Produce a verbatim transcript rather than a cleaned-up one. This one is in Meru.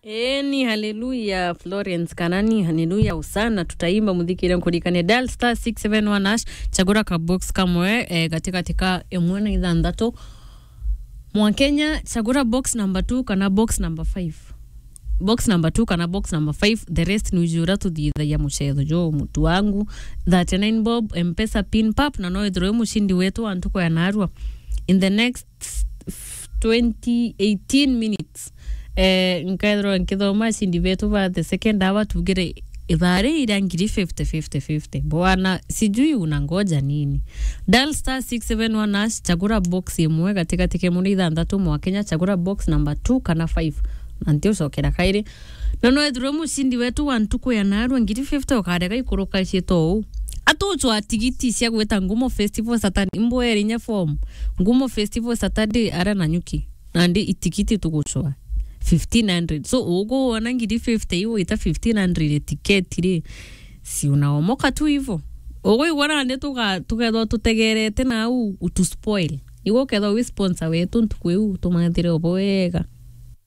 Eni, haleluya, Florence, kana ni haleluya, usana, tutaimba muthikire nkurikane. Dial star six seven one hash, chagura ka box kamwe, eh, gatigati ka imwe na ithanthatu. Mwa Kenya, chagura box number two kana box number five. Box number two kana box number five, the rest ni ujura tuthithagia mucetho jo mutu wangu. Thirty-nine bob, M-Pesa pin pap, na no ithirwe mushindi wetu wa ntuku ya narua. In the next twenty, eighteen minutes. Eh, nkethirwa nkithoma ashindi betu ba the second hour, tugire ithaa ri iria ngiri fifty, fifty, fifty. Bwana, sijui unangoja nini? Dial star six seven one hash, chagura box imwe gatigati ke muna ithanthatu mwa Kenya, chagura box number two kana five. Na nti ucokera kairi. Na no ethirwe mushindi wetu wa ntuku ya narua ngiri fifty ukarega ikuruka ciito uu. Atucwa tigiti cia gwita Ngumo Festival Saturday, imbwere inya form. Ngumo Festival Saturday ara na nyuki. Nandi itigiti tugucwa fifteen hundred. So, uguona ngiri fifty iu ita fifteen hundred tiketi ri, si unaomoka tu hivo. Uguigua nandi tuga-, tukethwa tutegerete nau utu spoil. Igu ukethwa wi sponsor wetu ntuku iu, tumathire ubo wega.